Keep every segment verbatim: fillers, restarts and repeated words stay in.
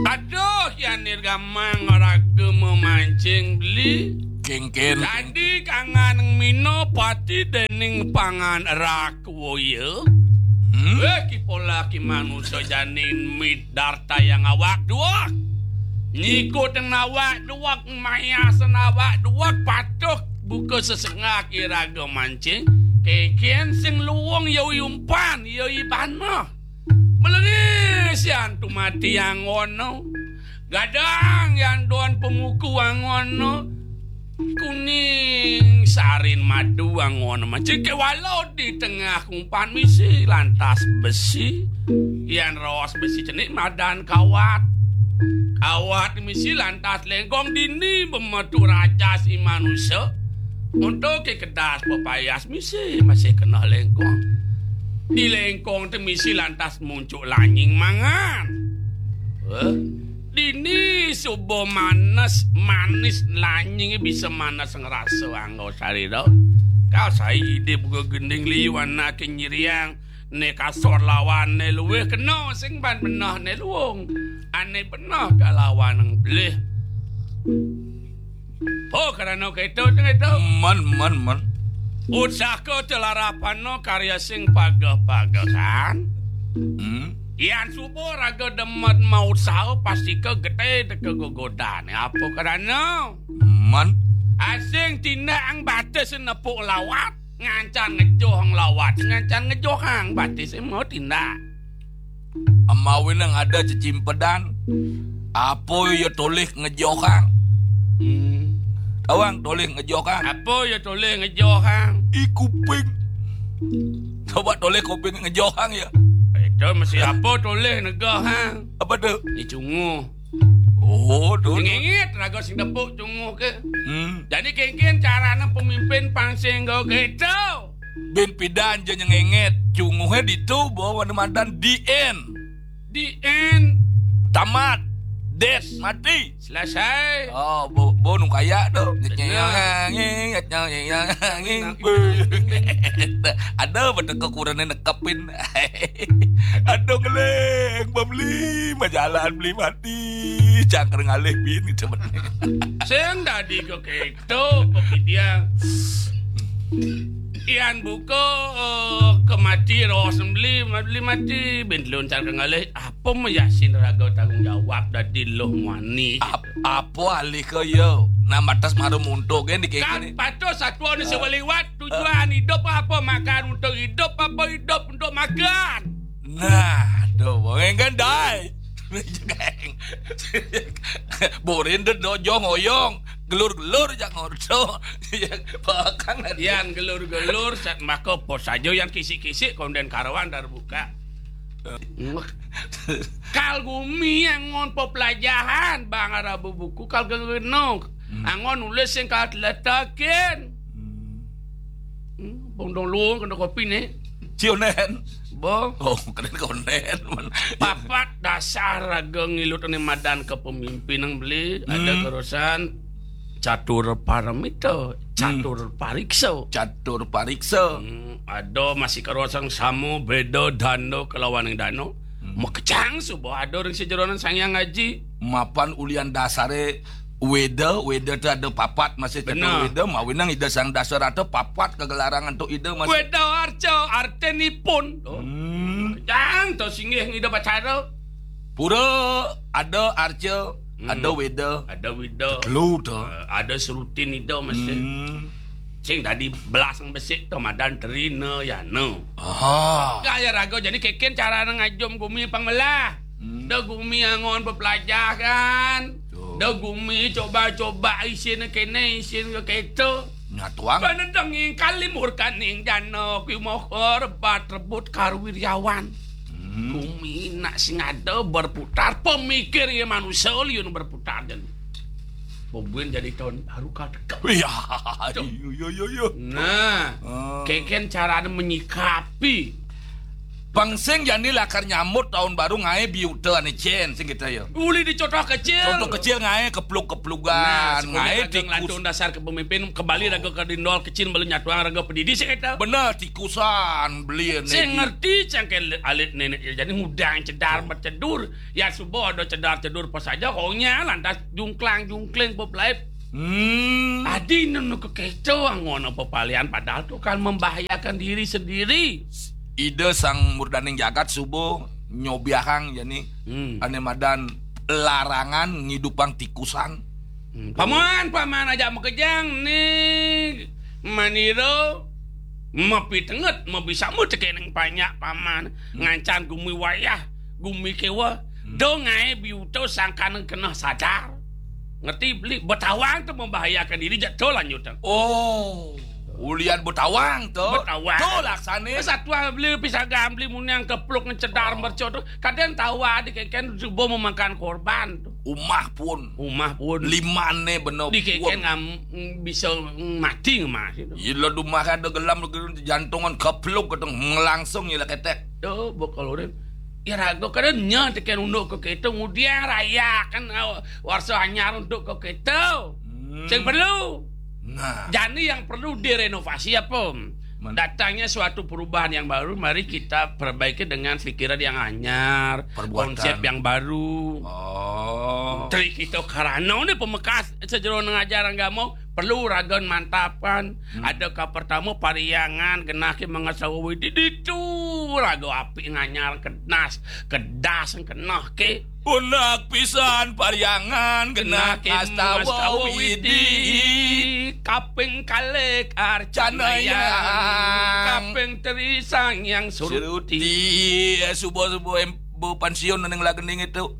Aduh, yan nirgamang raga mamancing beli. Kéngkén. Dadi kangan mina pati dening pangan rakwaya. Hmm? Wéh, ki polah ki manusa jani midartayang awak duweg. Nyikutin awak duweg, mayasin awak duweg, patuh buka sesengah iraga mancing. Kéngkén sing luung ya i umpan, ya i baneh. Mlengis yan tumati angona. Gadang yan don pamuku angona. Kuning sarin madu angona. Mancing kéwala di tengah umpan misi lantas besi. Yan raos besi cenik madan kawat. Kawat misi lantas lengkong dini bemetu rajas i manusa. Untuké kedas pepayas misi masih kena lengkong. Di lengkong té misi lantas muncuk lanying mangan. Heh? Dini suba manes, manis lanyingé bisa manes ngrasa angga sarira. Kal sai idip gegending liu anaké nyiriang, né kasor lawané luwih kena sing ban benehné luung. Ané beneh kalawan nglih. Oh, krana kéto, kéto. Men, men, men. Utsaka telarapana karya sing pageh-pagehan. Hmm. Yan suba raga demen mautsaha pastika getih teka gegodan. Apa krana? Men. Asing tindakang batis nepuk lawat, ngancan ngejohang lawat, ngancan ngejohang batis mau tindak. Amawinang ada cecimpedan, apa ya tolih ngejohang? Hmm. Tawang tolih ngejohang. Apa ya tolih ngejohang? I kuping. Coba tolih kuping ngejohang ya. Itu mesti apa tolih ngejohang? Apa tuh? Ni cunguh. Oh, tuh. Ngingit raga sing tepuk cunguh ke. Hmm. Jadi kéngkén carana pemimpin pang sing nggo kéto. Bin pidan ja nyengengit. Cunguhé ditu bawa madan di end. Di end. Tamat. Des, mati. Selesai. Oh, bo, bo nu kaya tuh. Bener. Ada betul kekurangan nekepin. Aduh ngeling, beli majalan, beli mati. Cangkreng alih bin gitu bener. Sing dadi kok kéto, kok dia. Yan buka, eh, kemati raos beli, beli mati, bin luncar ke ngalih, apa meyasin raga tanggung jawab dadi luh muani. Ap-, apa alih ke ya? Nah, matas maru muntuk kan di kan kene. Patuh satwa ni sebeliwat, tujuan hidup apa? Makan untuk hidup apa hidup untuk makan? Nah, tuh, kan dai. Borin deh dojo ngoyong, gelur-gelur jak ngordo. Bahkan yan gelur-gelur sat maka pos aja yang kisik-kisik konden karawan dar buka. Kal gumi yang ngon pepelajahan bang arabu buku kal gengenok. Hmm. Angon nulis yang kal letakin. Hmm. Hmm, bondong luung kena kopi nih. Cionen. Bo. Oh, keren konen. Papat dasar raga ngilut ni madan kepemimpinan beli ada hmm kerosan catur paramita, hmm catur pariksa. Catur pariksa. Hmm, ada masih kerosan sama beda dana kelawan yang dana. Hmm. Makejang suba ada ring sejeronan Sang Hyang Aji. Mapan ulian dasare Weda, Weda tu ada papat masih cetur benar. Weda, mawinang Ida Sang Dasarata papat kegelarangan tu Ida masih. Weda arca, artinipun. Hmm. Jang tu singgih ngida pacara. Pura ada arca, hmm, ada Weda. Ada Weda. Telu tu. Eh, ada serutin Ida masih. Hmm. Sing tadi belas besik tu madan terina ya no. Aha. Kaya raga jadi keken cara ngajum gumi pangmelah. Hmm. Da gumi angon bepelajahan. Betul. Da gumi coba-coba isin kene isin ke keto. Nyatuang. Panedeng ing kalimur kaning dana kuwi moho rebat rebut karo wiryawan. Hmm. Gumi nak sing ada berputar, pemikir ya manusia liun berputar dan pembuin jadi tahun baru kau dekat. Iya, iya, iya, iya. Nah, oh, keken caranya menyikapi Pang sing jani lakar nyambut tahun baru ngaé biuta ané cén sing kita ya. Uli di contoh kecil. Contoh kecil ngaé kepluk-keplugan, nah, sebelum ngaé kita tikus. Ngelantung dasar ke pemimpin, kembali raga ke dindol kecil, beli nyatuang raga pedidi sing kita. Bener, tikusan beli ané. Sing ngerti cangké alit nenek ya, jadi ngudang cedar bercedur. Ya subuh ada cedar cedur pas aja, honya lantas jungklang-jungkling pop laip. Hmm. Adi nenu kekeco angon apa palian, padahal tuh kan membahayakan diri sendiri. Ida Sang Murdaning Jagat subuh nyobiahang jani, hmm, ané madan larangan ngidupang tikusan. Hmm. Paman, paman aja makejang nih. Manira mapitenget, mabisama tekening panjak paman. Hmm. Ngancan gumi wayah, gumi kéwa. Hmm. Do ngaé biuta sangkaning keneh sadar. Ngerti beli, betawang tuh membahayakan diri, jak to lanjutan. Oh, ulian betawang tuh. Betawang. Tuh laksané. Satwa beli pisagan beli muniang kepluk ngecedar, oh, merco tuh. Kadang tawa di keken subuh memakan korban tuh. Umah pun. Umah pun. Limané bener. Di keken pun ngam-, bisa mati ngemas itu. Ila dumah ada gelam jantungan kepluk keteng langsung ila ketek. Tuh, bokol urin. Ya raga kadang nya teken unduk ke kita ngudiang raya kan, ah, warsa anyar untuk ke kita. Hmm. Sing perlu. Nah. Jani yang perlu direnovasi apa? Men- Datangnya suatu perubahan yang baru, mari kita perbaiki dengan pikiran yang anyar, perbuatan, konsep yang baru. Oh. Tri kita karana ini pemekas sejeroning ajaran agama perlu raga mantapan. Hmm. Ada ka pertama pariangan genah ke mangastawa widi ditu raga api nganyar kedas, kedas keneh ke. Unak pisan pariangan genah ngastawa widi. Kaping kalih arcanayang. Arcanayang. Kaping teri sang yang suruti. Suruti. Eh, subuh-subuh em-, bu pensiun neng lagening itu.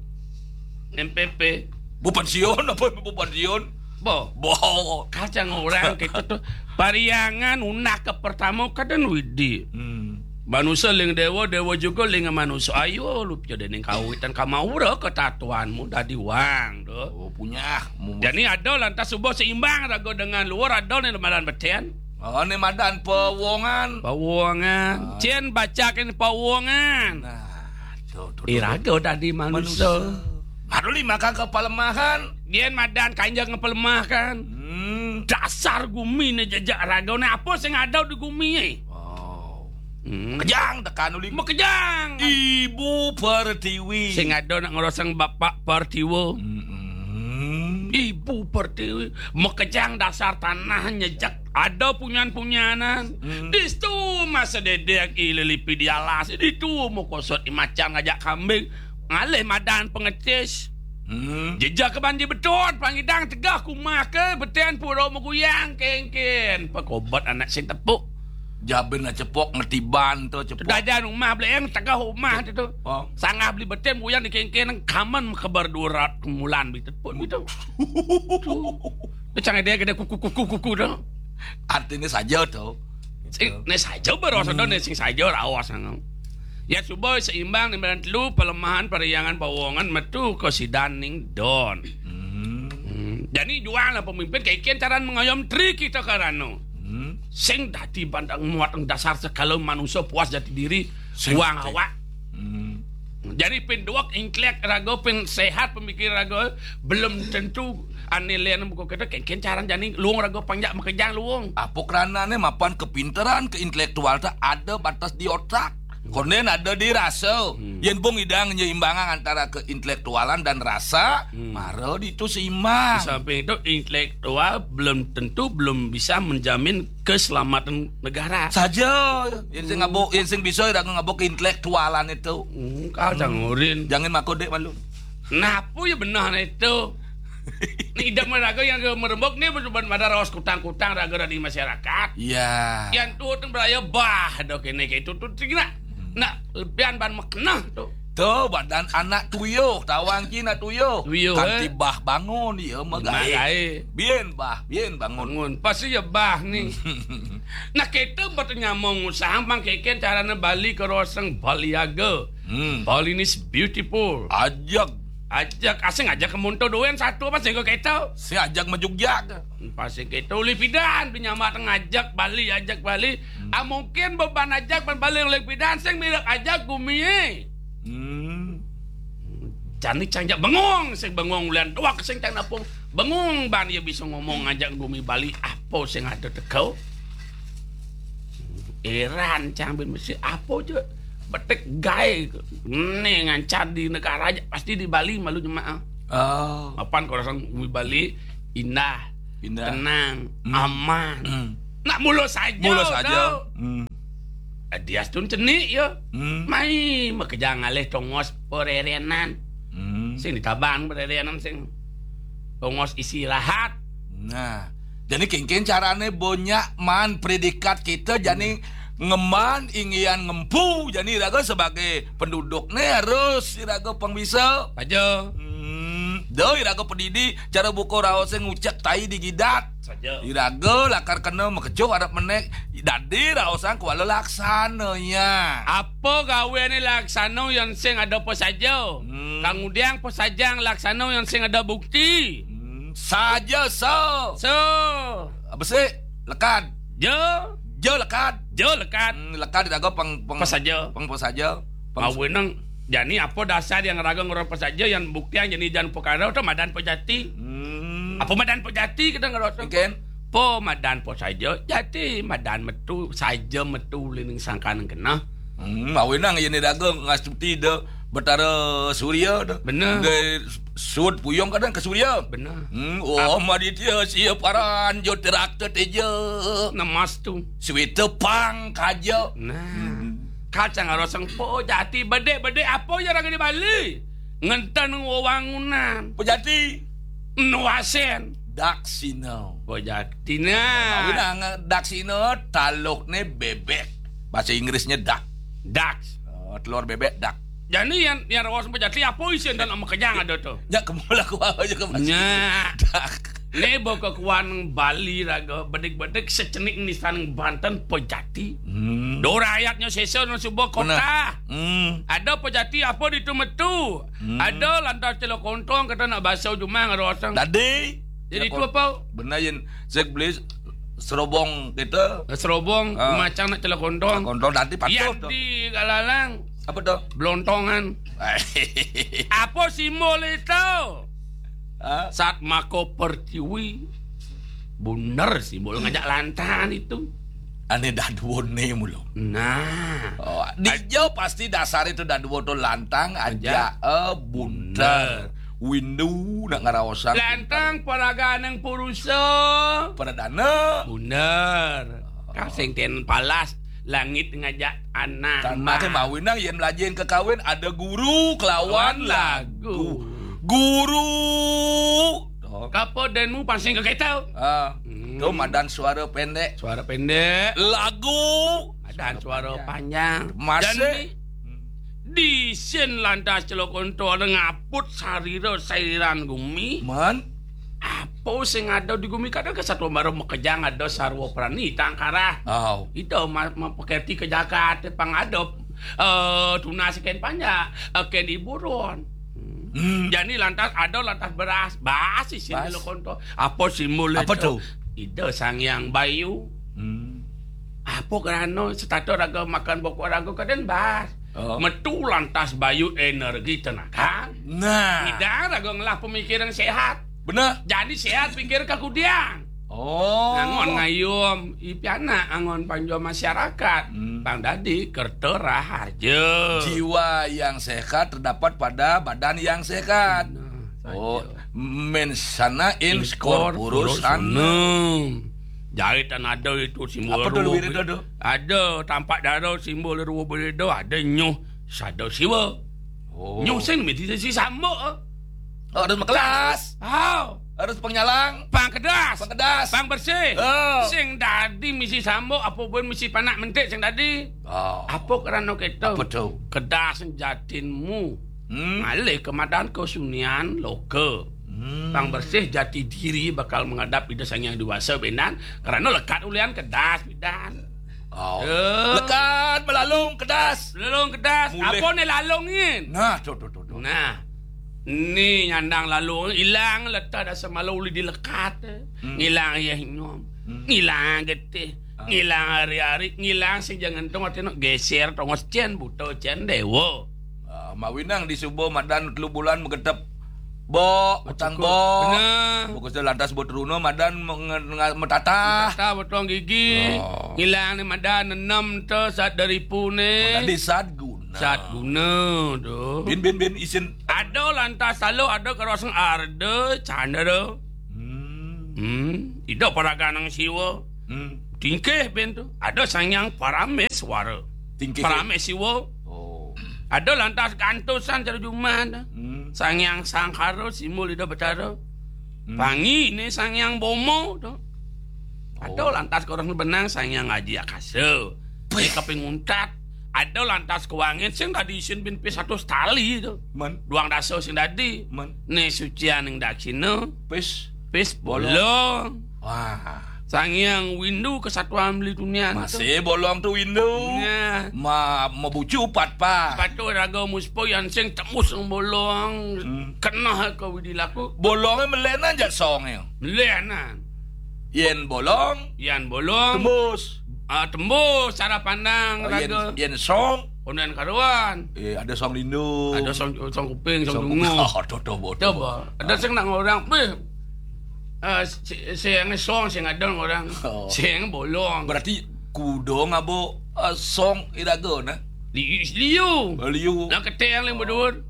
M P P. Bu pensiun apa bu pensiun? Bo. Bo. Kacang orang gitu tuh. Pariangan unak ke pertama kadang widi. Hmm. Manusia ling dewa, dewa juga ling manusia. Ayo, lu piye dening kawitan kamaura ketatuanmu dadi wang, tuh. Oh, punya. Mu- Jadi ada lantas subuh seimbang raga dengan luar, ada nih madan beten. Oh, ini madan pewongan. Pewongan. Ah. Cien bacakin pewongan. Nah, tuh, tuh, tuh. Iraga dadi manusia. Manusia. Aduh, lima kang kepalemahan. Yen madan kanjeng ngepelemahkan. Hmm. Dasar gumi ne jejak ragane apa sing ada di gumi e? Oh. Hmm. Kejang tekan uli. Makejang. Ibu Pertiwi. Sing ada nak ngeroseng Bapak Pertiwi. Mm-mm. Ibu Pertiwi. Makejang dasar tanah nyejak. Ada punyan-punyanan. Hmm. Distu masa dedek ililipi di alas. Ditu mau kosot imacan ngajak kambing. Ngalih madan pengecis. Hmm. Jejak ke banji betot, pangidang tegah kumah ke, beten pura meguyang kengken. Pekobat anak sing tepuk. Jabin lah cepok, ngerti ban tu, cepok. Dajan rumah beli yang tegah rumah tu, tu. Oh. Sanggah beli beten, buyang di kengken, kaman kebar dua ratus mulan beli tepuk gitu. Tu. Tu canggih dia kena kuku, kuku, kuku tu. Artinya saja tu. Sing, ne saja baru hmm. Sing saja rawas nang. Ya, suba seimbang ning badan telu, pelemahan, periangan, pawongan, metu ke sidan ning don. Hmm. Hmm. Jani jual lah pemimpin, kaiken caran mengayom tri kita karano. Hmm. Sing dadi bandang muat dasar segala manusia puas jati diri, sing uang dadi awak. Hmm. Jadi pin duwek intelek raga, pin sehat pemikir raga, belum tentu ane len buku kita, kaiken caran jani luung raga panjak makejang luung. Apa keranane mapan kepinteran ke intelektual tak ada batas di otak. Konden ada di rasa. Hmm. Yen bung idang nyeimbangan antara keintelektualan dan rasa, hmm. Mara ditu seimbang. Di samping itu intelektual belum tentu belum bisa menjamin keselamatan negara. Saja, yen sing ngabuk, yen sing bisa ira ngabuk keintelektualan itu. Hmm, kau jangan ngurin. Jangan mako dek malu. Napa ya benar itu? Ni idam raga yang merembuk ni berubah pada rawas kutang-kutang raga dari masyarakat. Iya. Yang tu tu beraya bah dok ini ke itu tu tinggal. Nak lebihan ban makna tu. Tu badan anak tuyuh, tawang ki nak tuyuh. Tuyuh, kanti eh. Bah bangun dia magae. Bien bah, bien bangun. Bangun. Pasti ya bah ni. Nah, kita buat nyamong usaha bang keken carana Bali ke roseng Baliaga. Hmm. Bali ni beautiful. Ajak. Ajak, asing ajak ke monto doen satu apa sing kok keto? Sing ajak majugjag. Pasti keto, uli pidan, pinyambat ngajak Bali, ajak Bali. Hmm. Ah, mungkin beban ajak ban Bali uli pidan, sing mirip ajak gumi, eh. Hmm. Jani cang jak bengong, sing bengong ulian doak sing cang napung. Bengong ban ia bisa ngomong ngajak gumi Bali apa sing ada teko. Eran cang bin mesti apa je. Betik gae. Ni ngancan di negara aja, pasti di Bali malu jemaah. Oh. Apan kalau orang gumi Bali indah, Indah. tenang, Hmm. aman. Hmm. Nak mulu saja. Mulu saja. Tau. Hmm. Eh, dia tun cenik ya. Hmm. Mai makejang alih tongos pererenan. Hmm. Sing ditabang pererenan sing tongos istirahat. Nah, jadi kengken carane banyak man predikat kita jani ngeman inggian ngempu, jani iraga sebagai penduduk ne harus iraga pang bisa. Aja. Hmm, do iraga pedidi cara buka raos ngucek tai di gidat. Saja. Iraga lakar kena makecuh arep menek dadi raosan kuala laksana ya. Apa gaweane laksana yang sing ada apa saja? Hmm. Kemudian apa saja yang laksana yang sing ada bukti? Hmm, saja so. So. Apa sih? Lekad. Jo. Jo lekad. Jo lekad. Hmm, lekad iraga pang pang Apa saja? Pang apa saja? Pang Awenang. Jani apa dasar yang raga ngorang apa saja yang bukti yang jani jan perkara tu madan pejati. Hmm. Apa madan pejati kita ngerasa? Mungkin. Po madan po saja, jati madan metu, saja metu lining sangkan kena. Hmm, awenang ini dagang ngastuti de Betara Surya de. Benar. De sud puyung kadang ke Surya. Benar. Hmm, oh, Maditya sia paran jo terakta teja. Nemas tu. Sweta pang kaja. Nah. Hmm. Kacang arosang po jati bedek-bedek apa ya raga di Bali? Ngenten wewangunan. Pejati. Nuasen. Daksina. Pejati nah. Awi nang daksina talukne bebek. Bahasa Inggrisnya duck. Ducks. Oh, telur bebek duck. Jadi yang yang raos pejati apa isin dan sama kejang ada tu? Ya kemula ku aja ke masih. Nya. Duck. Ne baka kuan Bali raga bedik-bedik secenik nisan Banten pejati. Hmm. Do rakyatnya sesa nang suba kota. Hmm. Ada pejati apa ditu metu? Hmm. Ada lantas celok kontong kata nak basau jumah ngarosang. Dadi. Jadi tu apa? Benar yang saya beli serobong kita. Serobong ah. Macam nak celok kontong. Kontong dadi patuh tu. Di galalang. Apa tu? Blontongan. Apa simbol itu? Ha? Sat mako pertiwi. Bunder simbol ngajak lantang itu. Ane daduo ne mulo. Nah. Oh, di jo pasti dasar itu daduo tu lantang aja eh bunder. Windu nak ngaraosan. Lantang paraganeng purusa. Pradana. Bunder. Kasing ten palas langit ngajak anak. Tanah mawinang yen melajin ke kawin ada guru kelawan lagu. Guru. Kapo denmu pansing ke ketel. Ah, hmm. Tu madan suara pendek. Suara pendek. Lagu. Madan suara panjang. Masih. Di, di sin lantas celok onto ada ngaput sarira sairan gumi. Man. Apa sing ada di gumi kadang ke satu baru makejang ada sarwa prani tangkarah. Oh. Itu ma, ma pekerti ke jagat pang ada eh tunas ken panjak eh, ken iburon. Hmm. Jadi lantas ada lantas beras, bas isin bas. Lo konto. Apa simbol apa itu? Tu? Ida Sang Hyang Bayu. Hmm. Apa kerana setata raga makan bokok raga kaden bas. Oh. Metu lantas bayu energi tenaga. Nah. Ida raga ngelah pemikiran sehat. Benar. Jadi sehat pikir ke kudiang. Oh. Ngangon ngayum, ipianak ngangon panjua masyarakat. Hmm. Pang dadi kerta raharja. Jiwa yang sehat terdapat pada badan yang sehat. Nah, oh, saja. Mensana in corpore sanum. Jari tan ada itu simbol. Apa tu luwir itu tu? Ada tampak dara simbol ruwa bereda, ada nyuh sada siwa. Oh. Nyuh sing mesti si sambuk. Oh, harus makelas. Oh. Harus penyalang. Pang kedas. Pang kedas. Pang bersih. Oh. Sing dadi misi sambuk apa pun misi panak mentik sing dadi. Oh. Apa kerana kita? Apa tu? Kedas jatinmu. Hmm. Ngalih ke madan kesunian loka. Hmm. Pang bersih jati diri bakal menghadap Ida Sang Hyang Dewasa benan kerana lekat ulian kedas bidan. Oh. Eh. Lekat melalung kedas. Melalung kedas. Mulih. Apa ni lalung ni? Nah, tu tu tu tu. Nah. Ni nyandang lalu, ilang letah dasa malu uli dilekat. Hmm. Ngilang ayah inyum. Hmm. Ngilang getih. Ah. Ngilang ari-ari, ngilang sing jangan tu artinya geser tongos cen buta cen dewa. Ah, mawinang di suba madan telu bulan magetep. Bo, utang cukup. Bo. Benar. Bukasda lantas bo teruna madan menge-, nga-, metatah. Metatah, potong gigi. Oh. Ngilang ni madan nenem tu sat dari pune. Oh, tadi sat guna. Sat guna tu. Bin, bin, bin, isin. Ada lantas lalu ada karosang arda candra. Hmm. Hmm. Ida paraganang siwa. Hmm. Tingkih bin tu. Ada Sang Hyang Parameswara. Tingkih. Parameswara. Oh. Ada lantas gantusan cara jumah tu. Hmm. Sang Hyang Sangkara simbol Ida Betara. Hmm. Pangi ni Sang Hyang Bomo tu. Ada. Oh. Lantas ke orang benang Sang Hyang Aji Akasa. Pih. Kaping untat. Ada lantas ke wangin sing tadi isin bin pis satu tali tu. Men. Duang dasa sing tadi. Men. Ni sucian ning daksina. Pis. Pis bolong. Bolong. Wah. Sang Hyang Windu kesatuan beli dunia tu. Masih bolong tu Windu. Ya. Ma-, mabucu pat pa. Patu raga muspa yang sing tembus bolong. Hmm. Kena ke widi laku. Bolongnya melenan jak songnya. Melenan. Yen bolong. Yan bolong. Tembus. Ah, tembus cara pandang. Oh, yen, raga. Yen song. Ondan karuan. Eh, ada song lindu. Ada song, song kuping, song, song dungu. Oh, tuh, tuh, bodoh. Coba. Ada sing nak orang, "Beh, eh, si, si yang song, sing ada orang. Oh. Sing bolong." Berarti kudo ngabo, eh, song iraga, nah? Li-, liu. Oh, liu. Nah, keteng ling bedur.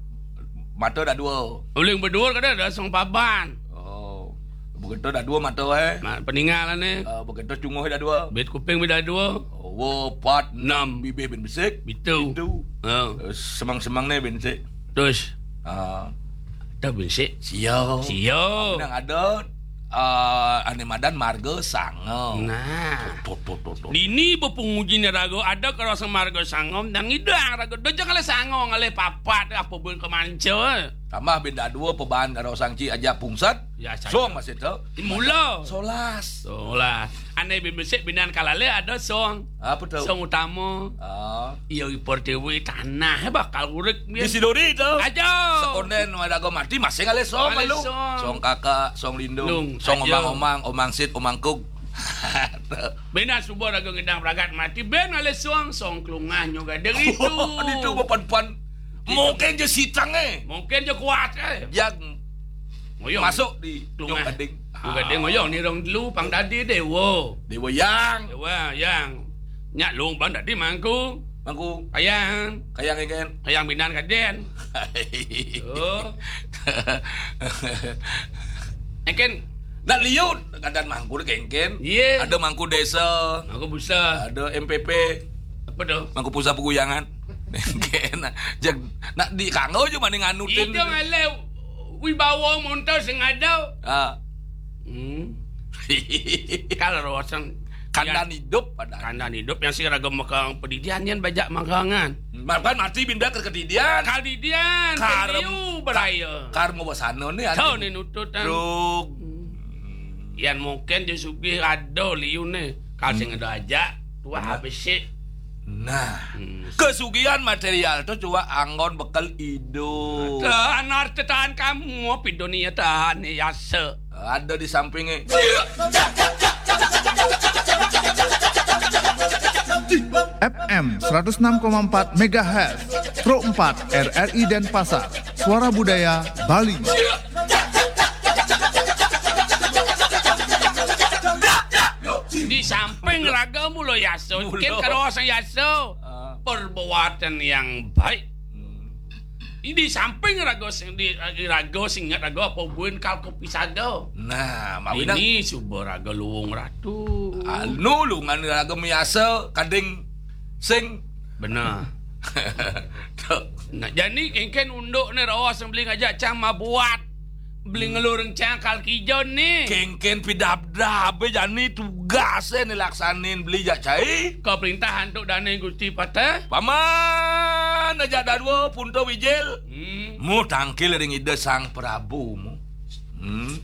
Mata dah dua. Uling bedur kada ada song paban. Oh. Begitu dah dua mata, eh. Ma-, peninggalan, eh. Ah, begitu cunguh dah dua. Bit kuping dah dua. Oh, empat, enam. Bibih bin besik. Bitu. Bitu. Ha. Eh, semang-semang ni bin besik. Terus? Ah. Dah bin besik. Sio. Sio. Nang ada, ah, ane madan marga sanga. Nah. Tuh, tuh, tuh, tuh, tuh. Dini bepenguji ni raga ada karasa marga sanga, nang idang raga. Dah jangan le sanga, ngalih papat, apa pun kemanca. Tambah bin dah dua pebahan karo sangci aja pungsat. Ya, saja. Song masih tu. Mula. Solas. Solas. Ane bin besik binan kalale ada song. Apa tu? Song utama. Ah. Iya, i pertiwi tanah bakal urip, di Sidori tu. Aja. Sekonden wadaga mati masih ngalih song. Ngalih malu. Song. Song kakak, song lindung, lung, song aja. Omang-omang, omang sit, omang kug. Bina suba raga ngidang pragat mati, ben ngalih song, song kelungah nyo gading itu. Itu bepan-pan. Mungkin je sitang, eh. Mungkin je kuat, eh. Yang ngoyong. Masuk di kelungah. Nyong gading. Nyong gading ngoyong ni rong dulu pang dadi dewa. Dewa yang. Dewa yang. Nyak lung pang dadi mangku. Mangku. Kayang. Kayang ikan. Kayang binan kaden. Oh. Engken. Nak liut, kadan mangku dek engken. Iya. Ada mangku desa. Mangku pusat. Ada M P P. Apa tu? Mangku pusat peguyangan. Engken. Jak, nak di kanggo je mending anutin. Itu ngalih wibawa montor sing ada. Ah. Hmm. Kalau rawasan kandan hidup pada kandan hidup yang si raga mekang pedidian yang bajak makangan. Makan mati binda ke kedidian. Kadidian, kar-, kediu beraya. Kar mau basana ni. Tahu ni nutut, kan? Truk. Hmm. Yang mungkin je sugih ada liu ni. Kalau sing ada ajak, tuah habis sih. Nah, hmm, kesugihan material tu cuma anggon bekal hidup. Tahan harta, tahan kamu, apa dunia tahan ni yasa. Ada di sampingnya. F M seratus enam koma empat megahertz, Pro empat R R I Denpasar, Suara Budaya Bali. Di samping raga mula yasa, mula. Kin karo sang yasa. Ah. Perbuatan yang baik. Hmm. Di samping raga sing, di, di raga sing ingat raga apa buin kal kopi sada. Nah, mawinang. Ini suba raga luwung ratu. Anu lungan raga miasa kading sing. Benar. Tu. Nah, jani kengken unduk ni rawa sing beli ngajak cang mabuat. Beli ngelur rencang kal kijon ni. Kengken pidabdab, eh, jani tugas, eh, ni laksanin beli jak cai. Kau perintah antuk dana Gusti patah. Paman, ajak dadua, punta wijil. Hmm. Mu tangkil ring Ida Sang Prabu mu. Hmm.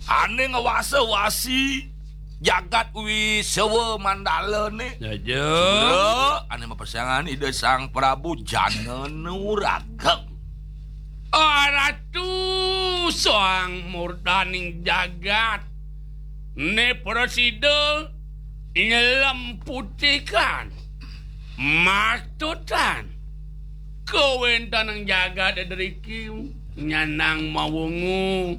Ane ngawasa wasi jagat Wisewa Mandala ni. Ya, ya. Sudra, ane mapersiangan Ida Sang Prabu jana nuraga. Aratu sang murdaning jagat, ne prasida nyelem putikan, matutan. Kawentenan jagat driki nyanang mawungu